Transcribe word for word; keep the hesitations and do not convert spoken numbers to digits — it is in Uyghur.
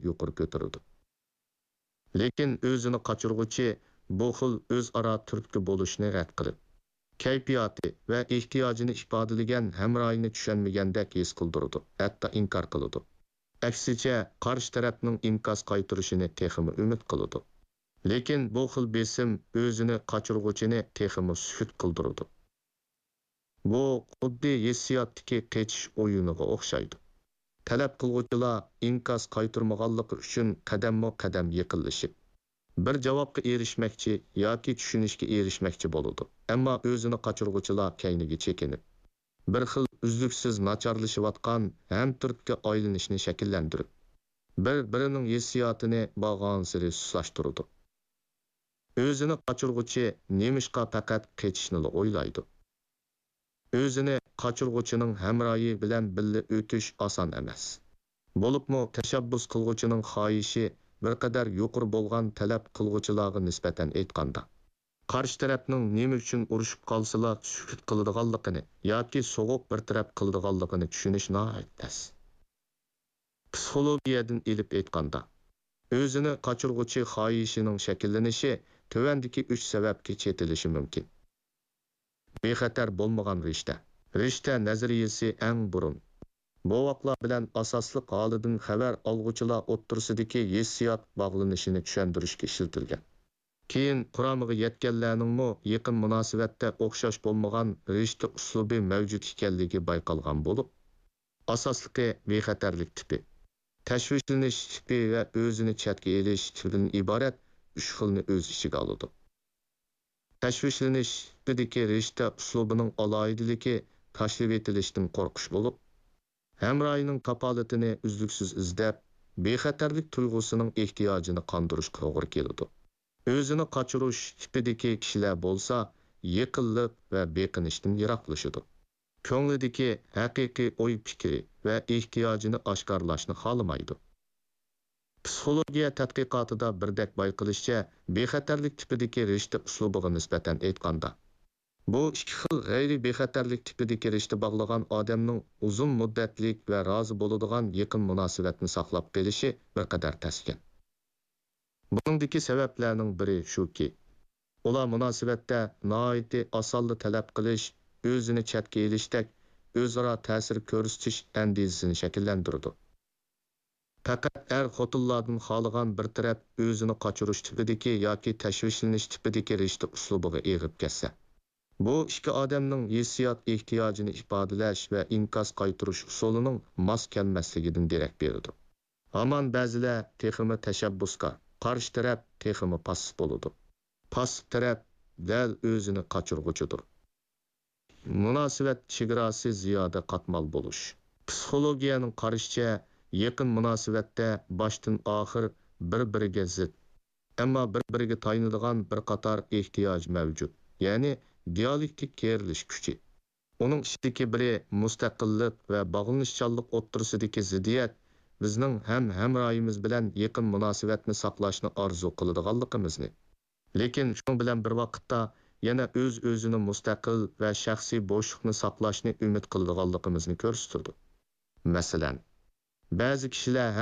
يۇقىرى كۆتۈرىدۇ. لېكىن ئۆزىنى قاچۇرغۇچى بۇ خىل ئۆزئارا تۈرتكە بولۇشنى رەت قىلىپ، كەيپىياتى ۋە ئېھتىياجىنى ئىپادىلىگەن ھەمراھىنى چۈشەنمىگەندەك ھېس قىلدۇرىدۇ، ھەتتا ئىنكار قىلىدۇ. ئەكسىچە، قارشى تەرەپنىڭ ئىنكاس قايتۇرۇشىنى تېخىمۇ ئۈمىد قىلىدۇ. لېكىن بۇ خىل بېسىم ئۆزىنى قاچۇرغۇچىنى تېخىمۇ سۈكۈت قىلدۇرىدۇ. بۇ خۇددى ھېسسىياتتىكى قېچىش ئويۇنىغا ئوخشايدۇ. تەلەپ قىلغۇچىلار ئىنكاس قايتۇرمىغانلىقى ئۈچۈن قەدەممۇ قەدەم يېقىنلىشىپ، بىر جاۋابقا ئېرىشمەكچى ياكى چۈشىنىشكە ئېرىشمەكچى بولىدۇ. ئەمما ئۆزىنى قاچۇرغۇچىلار كەينىگە چېكىنىپ، بىر خىل ئۈزلۈكسىز ناچارلىشىۋاتقان ھەمتۈرتكە ئايلىنىشنى شەكىللەندۈرۈپ، بىر-بىرىنىڭ ھېسسىياتىنى بارغانسېرى سۇسلاشتۇرىدۇ. ئۆزىنى قاچۇرغۇچى نېمىشقا پەقەت قېچىشنىلا ئويلايدۇ؟ ئۆزىنى قاچۇرغۇچىنىڭ ھەمراھى بىلەن بىللە ئۆتۈش ئاسان ئەمەس. بولۇپمۇ تەشەببۇس قىلغۇچىنىڭ خاھىشى بىر قەدەر يۇقىرى بولغان تەلەپ قىلغۇچىلارغا نىسبەتەن ئېيتقاندا، قارشى تەرەپنىڭ نېمە ئۈچۈن ئۇرۇشۇپ قالسىلا سۈكۈت قىلىدىغانلىقىنى ياكى سوغۇق بىر تەرەپ قىلىدىغانلىقىنى چۈشىنىش ناھايىتى تەس. پسىخولوگىيەدىن ئېلىپ ئېيتقاندا، ئۆزىنى قاچۇرغۇچى خاھىشىنىڭ شەكىللىنىشى تۆۋەندىكى ئۈچ سەۋەبكە چېتىلىشى مۇمكىن. بىخەتەر بولمىغان رىشتە. رىشتە نەزەرىيەسى ئەڭ بۇرۇن بوۋاقلار بىلەن ئاساسلىق ھالىدىن خەۋەر ئالغۇچىلار ئوتتۇرىسىدىكى ھېسسىيات باغلىنىشىنى چۈشەندۈرۈشكە ئىشلىتىلگەن. كېيىن قۇرامىغا يەتكەنلەرنىڭمۇ يېقىن مۇناسىۋەتتە ئوخشاش بولمىغان رىشتە ئۇسلۇبى مەۋجۇت ئىكەنلىكى بايقالغان بولۇپ، ئاساسلىقى بىخەتەرلىك تىپى، تەشۋىشلىنىش تىپى ۋە ئۆزىنى چەتكە ئېلىش تىپىدىن ئىبارەت ئۈچ خىلنى ئۆز ئىچىگە ئالىدۇ. تەشۋىشلىنىش تىپىدىكى رىشتە ئۇسلۇبىنىڭ ئالاھىدىلىكى تاشلىۋېتىلىشتىن قورقۇش بولۇپ، ھەمراھىنىڭ كاپالىتىنى ئۈزلۈكسىز ئىزدەپ، بىخەتەرلىك تۇيغۇسىنىڭ ئېھتىياجىنى قاندۇرۇشقا توغرا كېلىدۇ. ئۆزىنى قاچۇرۇش تىپىدىكى كىشىلەر بولسا يېقىنلىق ۋە بېقىنىشتىن يىراقلىشىدۇ. كۆڭلىدىكى ھەقىقىي ئوي-پىكرى ۋە ئېھتىياجىنى ئاشكارىلاشنى خالىمايدۇ. پسىخولوگىيە تەتقىقاتىدا بىردەك بايقىلىشىچە، بىخەتەرلىك تىپىدىكى رىشتە ئۇسلۇبىغا نىسبەتەن ئېيتقاندا، بۇ ئىككى خىل غەيرىي بىخەتەرلىك تىپىدىكى رىشتە باغلىغان ئادەمنىڭ ئۇزۇن مۇددەتلىك ۋە رازى بولىدىغان يېقىن مۇناسىۋەتنى ساقلاپ قېلىشى بىر قەدەر تەسكەن. بۇنىڭدىكى سەۋەبلەرنىڭ بىرى شۇكى، ئۇلار مۇناسىۋەتتە ناھايىتى ئاسانلا تەلەپ قىلىش، ئۆزىنى چەتكە ئېلىشتەك ئۆزئارا تەسىر كۆرسىتىش ئەندىزىسىنى شەكىللەندۈرىدۇ. پەقەت ئەر-خوتۇنلاردىن خالىغان بىر تەرەپ ئۆزىنى قاچۇرۇش تىپىدىكى ياكى تەشۋىشلىنىش تىپىدىكى رىشتە ئۇسلۇبىغا ئېغىپ كەتسە، بۇ ئىككى ئادەمنىڭ ھېسسىيات ئېھتىياجىنى ئىپادىلەش ۋە ئىنكاس قايتۇرۇش ئۇسۇلىنىڭ ماس كەلمەسلىكىدىن دېرەك بېرىدۇ. ھامان بەزىلەر تېخىمۇ تەشەببۇسكار، قارشى تەرەپ تېخىمۇ پاسسىپ بولىدۇ. پاسسىپ تەرەپ دەل ئۆزىنى قاچۇرغۇچىدۇر. مۇناسىۋەت چېگراسى زىيادە قاتمال بولۇش. پسىخولوگىيەنىڭ قارىشىچە، يېقىن مۇناسىۋەتتە باشتىن ئاخىر بىر-بىرىگە زىت، ئەمما بىر-بىرىگە تايىنىدىغان بىر قاتار ئېھتىياج مەۋجۇت، يەنى دىئالېكتىك كېرىلىش كۈچى. ئۇنىڭ ئىچىدىكى بىرى مۇستەقىللىق ۋە باغلىنىشچانلىق ئوتتۇرىسىدىكى زىددىيەت بىزنىڭ ھەم ھەمراھىمىز بىلەن يېقىن مۇناسىۋەتنى ساقلاشنى ئارزۇ قىلىدىغانلىقىمىزنى، لېكىن شۇنىڭ بىلەن بىر ۋاقىتتا يەنە ئۆز-ئۆزىنى مۇستەقىل ۋە شەخسىي بوشلۇقنى ساقلاشنى ئۈمىد قىلىدىغانلىقىمىزنى كۆرسىتىدۇ. مەسىلەن، بەزى كىشىلەر ھەر